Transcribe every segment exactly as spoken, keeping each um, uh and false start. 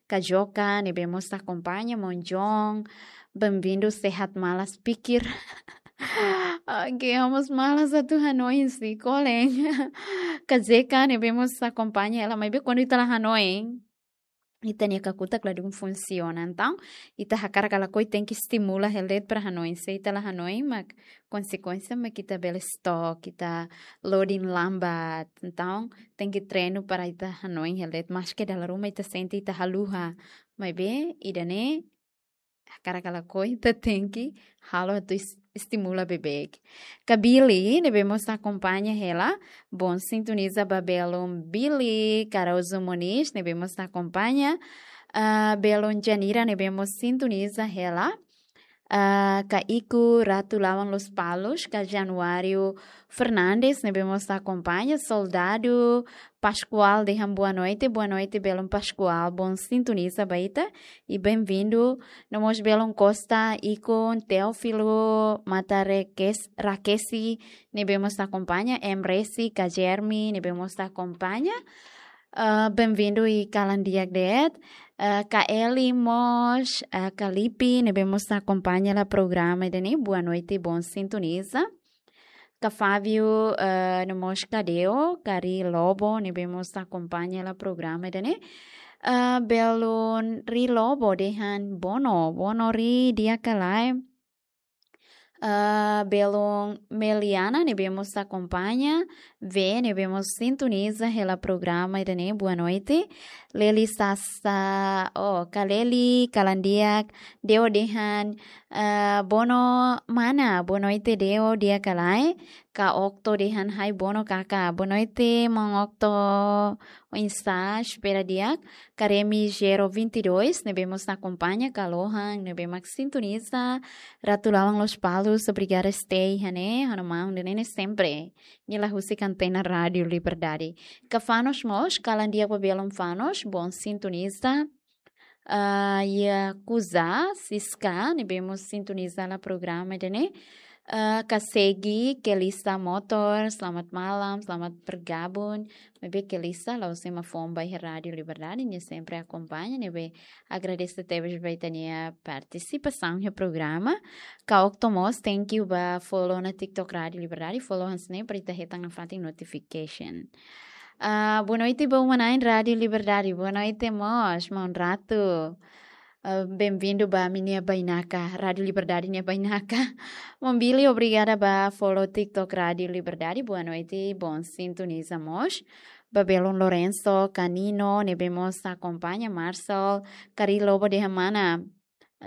Kajoka ne'ebé mós akompaña, maun John, bem-vindu, sehat malas pikir. Oke, ha'u mós malas atu hanoin si kolen. Kazeka ne'ebé mós akompaña hela, maibé kuandu ita la hanoin, ita-nia kakutak ladún funsiona. Entaun, ita hakarak ka lakohi tenke estimula hela de'it para hanoin. Se ita la hanoin, mak konsekuénsia mak ita bele stok, ita loading lambat. Entaun, tenke treinu para ita hanoin hela de'it. Maske dala ruma ita sente ita haluha. Maibé, ida-ne'e, hakarak ka lakohi ita tenke halo atu es-, estimula beibeik. Ka Billy, ne'ebé mós akompaña hela, bom sintoniza ba belun Billy, Caruso Moniz, ne'ebé mós akompaña, ah, belun Janira, ne'ebé mós sintoniza hela, ah, ka Iku Ratu Lawan Lospalos, ka Januário Fernandes, ne'ebé mós akompaña, Soldadu Pascoal dehan boa noite, boa noite, belun Pascoal, bom sintoniza ba ita, i bem-vindu. No mós belun Costa, Icon, Teófilo, Mata Reques-, Rakesi, ne'ebé mós akompaña, M Resi, ka Jeremy, ne'ebé mós akompaña. Ah, bem-vindu i kalan di'ak de'it. Ah, ka Eli mós, ah, ka Lipi, ne'ebé mós akompaña hela programa ida-ne'e, boa noite, bom sintoniza. Ka Fábio, eh, no mós ka Deo, ka Ri Lobo, ne'ebé mós akompaña hela programa ida-ne'e. Eh, belun Ri Lobo dehan bono, bono Ri di'ak ka lae. Eh, belun Meliana, ne'ebé mós akompaña, V, ne'ebé mós sintoniza hela programa ida-ne'e, boa noite. Leli Sasa, oh, ka Leli, kalan di'ak, Deo dehan, eh, bono mana, boa noite Deo, di'ak ka lae. Ka Okto dehan hai bono kaka, boa noite maun Okto, oinsá, espera di'ak. Ka Remi Gero vinte e dois, ne'ebé mós akompaña, ka Lohan, ne'ebé mak sintoniza Ratu Lawan Lospalos, obrigada stay, hane, hana maun, de nene sempre. Nia la husik antena Rádio Liberdade. Ka Fanos mós, kalan di'ak ba belun Fanos, bom sintoniza. Ah, Yakuza, Siska, ne'ebé mós sintoniza hela programa ida-ne'e. Ah, ka Segi, Kelisa Motor, selamat malam, selamat bergabung. Maibé Kelisa, la'ós ema foun ba iha Rádio Liberdade, nia sempre akompaña, ne'ebé agradese tebes ba ita-nia partisipasaun iha programa. Ka Okto mós, thank you ba follow ona TikTok Rádio Liberdade, follow hanesan ne'e para ita hetan nafatin notification. Ah, boa noite, boa manhã, Rádio Liberdade. Boa noite mós, maun Ratu. Ah, bem-vindu ba ami-nia bainaka, Rádio Liberdade nia bainaka. Maun Billy, obrigada ba follow TikTok Rádio Liberdade. Boa noite, bom sintoniza mós. Ba belun Lorenzo, ka Nino, ne'ebé mós akompaña, Marcel, ka Ri Lobo dehan mana.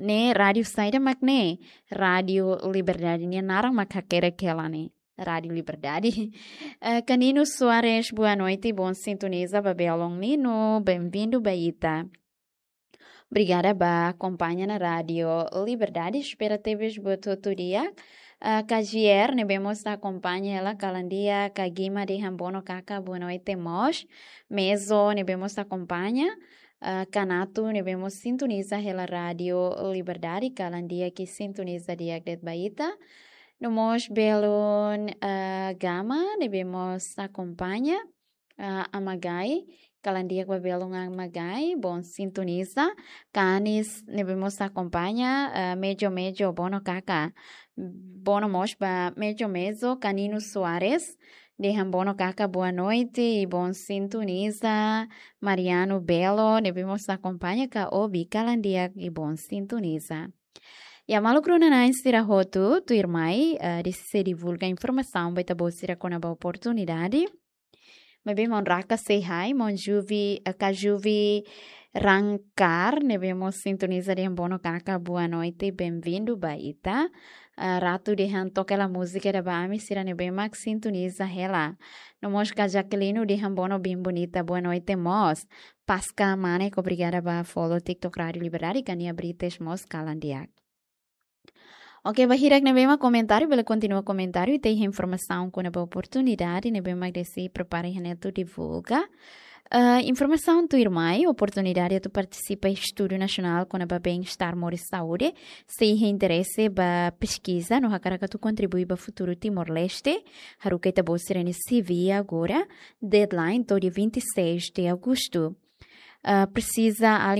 Ne'e rádiu saida mak ne'e? Rádio Liberdade, nia naran mak hakerek hela ne'e. Rádio Liberdade. Eh, ka Nino Soares, boa noite, bom sintoniza ba belun Nino, bem-vindu ba ita. Obrigada ba akompaña ona Rádio Liberdade, espera tebes buat hotu di'ak. Eh, ka J R, ne'ebé mós akompaña hela, kalan di'ak, ka Gima dehan bono kaka, boa noite mós. Mezo, ne'ebé mós akompaña. Ah, ka Natu, ne'ebé mós sintoniza hela Rádio Liberdade, kalan di'ak i sintoniza di'ak de'it ba ita. No mós belun, ah, Gama, ne'ebé mós akompaña, ah, Amagai, kalan di'ak ba belun Amagai, bom sintoniza. Ka Anis, ne'ebé mós akompaña, ah, Mejo Mejo, bono kaka. Bono mós ba Mejo Mezo, ka Nino Soares, dehan bono kaka, boa noite i bom sintoniza. Mariano Belo, ne'ebé mós akompaña, ka Obi, kalan di'ak i bom sintoniza. Ya, maluk rona-na'in sira hotu, tuirmai, eh, deside divulga informasaun ba ita-boot sira kona-ba oportunidade. Maibé maun Raka say hi, maun Juvi, eh, ka Juvi Rankar, ne'ebé mós sintoniza dehan bono kaka, boa noite, bem-vindu ba ita. Ah, Ratu dehan toka hela múzika ida ba ami sira ne'ebé mak sintoniza hela. No mós ka Jaqueline dehan bono bem bonita, boa noite mós. Pasca Mane, obrigada ba follow TikTok Rádio Liberdade, ka Nia Brites mós kalan di'ak. Oke, ba hirak ne'ebé mak komentáriu, bele kontinua komentáriu, ita iha informasaun kona-ba oportunidade ne'ebé mak Desi prepara iha ne'e atu divulga. Eh, informasaun tuirmai, oportunidade atu partisipa estudu nasionál kona-ba bem-estar moris saúde. Se iha interese ba peskiza no hakarak atu kontribui ba futuru Timor-Leste, haruka ita-boot sira-nia C V agora, deadline to'o dia vinte e seis de agosto. Eh, presiza